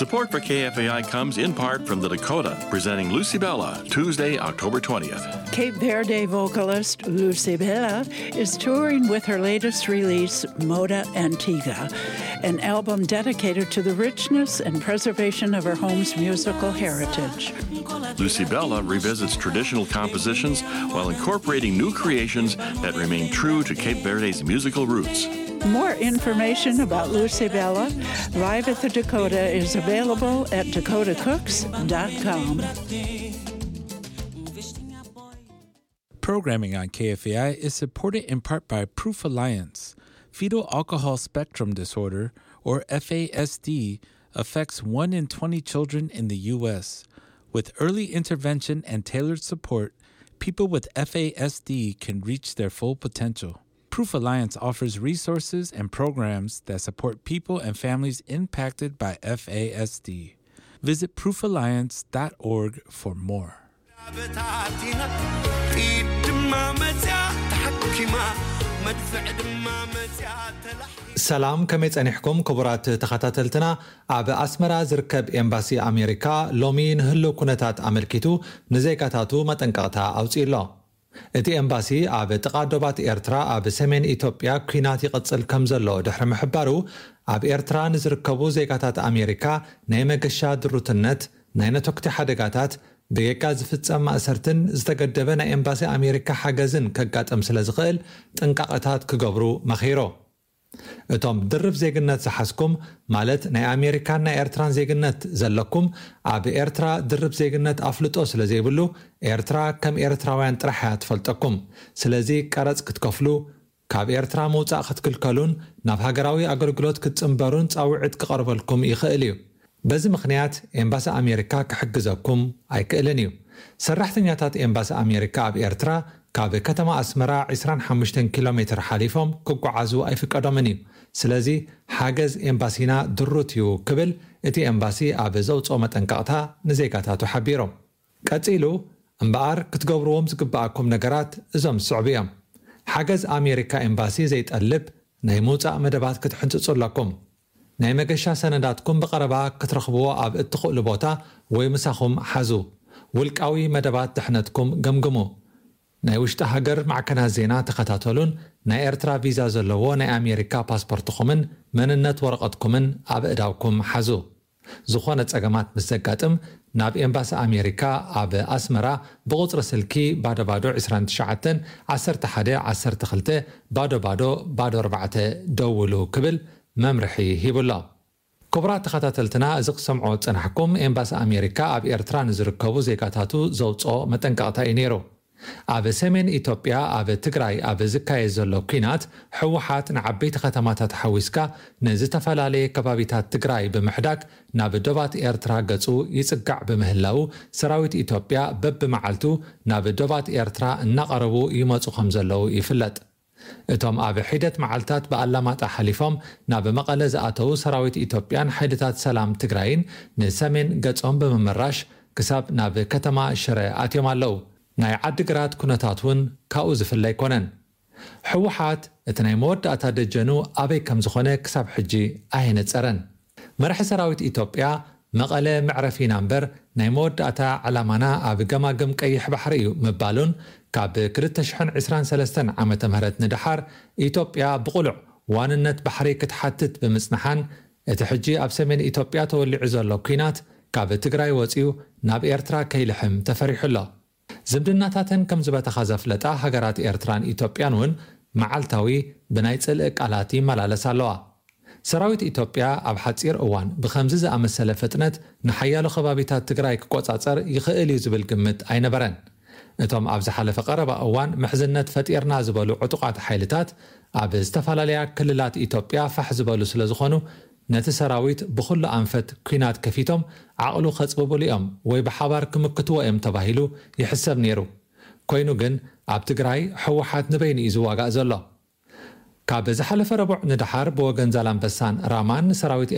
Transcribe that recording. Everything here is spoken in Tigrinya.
Support for K F A I comes in part from the Dakota, presenting Lucy Bella, Tuesday, October twentieth. Cape Verde vocalist Lucy Bella is touring with her latest release, Moda Antiga, an album dedicated to the richness and preservation of her home's musical heritage. Lucy Bella revisits traditional compositions while incorporating new creations that remain true to Cape Verde's musical roots. More information about Lucy Bella live at the Dakota is available at dakota cooks dot com. Programming on K F A I is supported in part by Proof Alliance. Fetal alcohol spectrum disorder, or F A S D, affects one in twenty children in the U S. With early intervention and tailored support, people with F A S D can reach their full potential. Proof Alliance offers resources and programs that support people and families impacted by F A S D. Visit proof alliance dot org for more. በታቲና ኢድ ድማ መፅያ ተሓኪማ መድፍዕ ድማ መፅያ ተላሕ ሰላም፣ ከመይ ጸኒሕኩም ክቡራት ተኸታተልትና? ኣብ ኣስመራ ዝርከብ ኤምባሲ ኣሜሪካ ሎሚ ንህልው ኩነታት ኣመልኪቱ ንዜጋታቱ መጠንቀቕታ ኣውጺኡ ኣሎ። እቲ ኤምባሲ ኣብ ጥቓ ዶባት ኤርትራ ኣብ ሰሜን ኢትዮጵያ ኲናት ይቕጽል ከም ዘሎ ድሕሪ ምሕባሩ፣ ኣብ ኤርትራ ንዝርከቡ ዜጋታት ኣሜሪካ ናይ መገሻ ድሩትነት፣ ናይ ነተኩቲ ሓደጋታት፣ ብጌጋ ዝፍጸም ማእሰርትን ዝተገደበ ናይ ኤምባሲ ኣሜሪካ ሓገዝን ከጋጥም ስለ ዝኽእል ጥንቃቐታት ክገብሩ መኺሩ። እቶም ድርብ ዜግነት ዝሓዝኩም፣ ማለት ናይ ኣሜሪካን ናይ ኤርትራን ዜግነት ዘለኩም፣ ኣብ ኤርትራ ድርብ ዜግነት ኣፍልጦ ስለ ዘይብሉ፣ ኤርትራ ከም ኤርትራውያን ጥራሕ እያ ትፈልጠኩም። ስለዚ ቀረጽ ክትከፍሉ፣ ካብ ኤርትራ ምውጻእ ክትክልከሉን ናብ ሃገራዊ ኣገልግሎት ክትጽንበሩን ጻውዒት ክቐርበልኩም ይኽእል እዩ። በዚ ምኽንያት ኤምባሲ ኣሜሪካ ክሕግዘኩም ኣይክእልን እዩ። ሰራሕተኛታት ኤምባሲ ኣሜሪካ ኣብ ኤርትራ ካብ ከተማ ኣስመራ ዕስራን ሓሙሽተን ኪሎ ሜትር ሓሊፎም ክጓዓዙ ኣይፍቀዶምን እዩ። ስለዚ ሓገዝ ኤምባሲና ድሩት እዩ ክብል እቲ ኤምባሲ ኣብ ዘውጽኦ መጠንቀቕታ ንዜጋታቱ ሓቢሩ። ቀጺሉ፣ እምበኣር ክትገብርዎም ዝግብኣኩም ነገራት እዞም ዝስዕቡ እዮም። ሓገዝ ኣሜሪካ ኤምባሲ ዘይጠልብ ናይ ምውጻእ መደባት ክትሕንጽጹ ኣለኩም። ናይ መገሻ ሰነዳትኩም ብቐረባ ክትረኽብዎ ኣብ እትኽእሉ ቦታ ወይ ምሳኹም ሓዙ። ውልቃዊ መደባት ድሕነትኩም ገምግሙ። ናይ ውሽጢ ሃገር ማዕከናት ዜና ተኸታተሉን ናይ ኤርትራ ቪዛ ዘለዎ ናይ ኣሜሪካ ፓስፖርትኹምን መንነት ወረቐትኩምን ኣብ እዳውኩም ሓዙ። ዝኾነ ጸገማት ምስ ዘጋጥም ናብ ኤምባሲ ኣሜሪካ ኣብ ኣስመራ ብቑጽሪ ስልኪ ባዶ ባዶ ዕስራን ትሽዓተን ዓሰርተ ሓደ ዓሰርተ ክልተ ባዶ ባዶ ባዶ ኣርባዕተ ደውሉ ክብል መምርሒ ሂቡ ኣሎ። ክቡራት ተኸታተልትና፣ እዚ ክሰምዖ ዝጸናሕኩም ኤምባሲ ኣሜሪካ ኣብ ኤርትራ ንዝርከቡ ዜጋታቱ ዘውጽኦ መጠንቀቕታ እዩ ነይሩ። ኣብ ሰሜን ኢትዮጵያ ኣብ ትግራይ ኣብ ዝካየድ ዘሎ ኲናት ህወሓት ንዓበይቲ ከተማታት ሓዊስካ ንዝተፈላለየ ከባቢታት ትግራይ ብምሕዳግ ናብ ዶባት ኤርትራ ገጹ ይጽጋዕ ብምህላው ሰራዊት ኢትዮጵያ በብመዓልቱ ናብ ዶባት ኤርትራ እናቐረቡ ይመጹ ከም ዘለዉ ይፍለጥ። እቶም ኣብ ሒደት መዓልታት ብኣላማጣ ሓሊፎም ናብ መቐለ ዝኣተዉ ሰራዊት ኢትዮጵያን ሓይልታት ሰላም ትግራይን ንሰሜን ገጾም ብምምራሽ ክሳብ ናብ ከተማ ሽረ ኣትዮም ኣለዉ። ናይ ዓዲግራት ኩነታት እውን ካብኡ ዝፍለ ኣይኮነን። ህወሓት እቲ ናይ መወዳእታ ደጀኑ ኣበይ ከም ዝኾነ ክሳብ ሕጂ ኣየነጸረን። መራሒ ሰራዊት ኢትዮጵያ መቐለ መዕረፊና እምበር ናይ መወዳእታ ዕላማና ኣብ ገማግም ቀይሕ ባሕሪ እዩ ምባሉን ካብ ክልተ ሽሕን ዕስራን ሰለስተን ዓመተ ምህረት ንደሓር ኢትዮጵያ ብቕሉዕ ዋንነት ባሕሪ ክትሓትት ብምጽንሓን እቲ ሕጂ ኣብ ሰሜን ኢትዮጵያ ተወሊዑ ዘሎ ኲናት ካብ ትግራይ ወጺኡ ናብ ኤርትራ ከይልሕም ተፈሪሑ ኣሎ። ዝምድናታተን ከም ዝበተኻ ዘፍለጣ ሃገራት ኤርትራን ኢትዮጵያን እውን መዓልታዊ ብናይ ጽልኢ ቃላት ይመላለሳ ኣለዋ። ሰራዊት ኢትዮጵያ ኣብ ሓጺር እዋን ብኸምዚ ዝኣመሰለ ፍጥነት ንሓያሎ ከባቢታት ትግራይ ክቆጻጸር ይኽእል እዩ ዝብል ግምት ኣይነበረን። እቶም ኣብ ዝሓለፈ ቀረባ እዋን ምሕዝነት ፈጢርና ዝበሉ ዕጡቓት ሓይልታት ኣብ ዝተፈላለያ ክልላት ኢትዮጵያ ፋሕ ዝበሉ ስለ ዝኾኑ ነቲ ሰራዊት ብኹሉ ኣንፈት ኲናት ከፊቶም ዓቕሉ ከጽብብሉ እዮም ወይ ብሓባር ክምክትዎ እዮም ተባሂሉ ይሕሰብ ነይሩ። ኮይኑ ግን ኣብ ትግራይ ህወሓት ንበይኑ እዩ ዝዋጋእ ዘሎ። ካብ ዝሓለፈ ረቡዕ ንደሓር ብወገን ዛላንበሳን ራማን ሰራዊት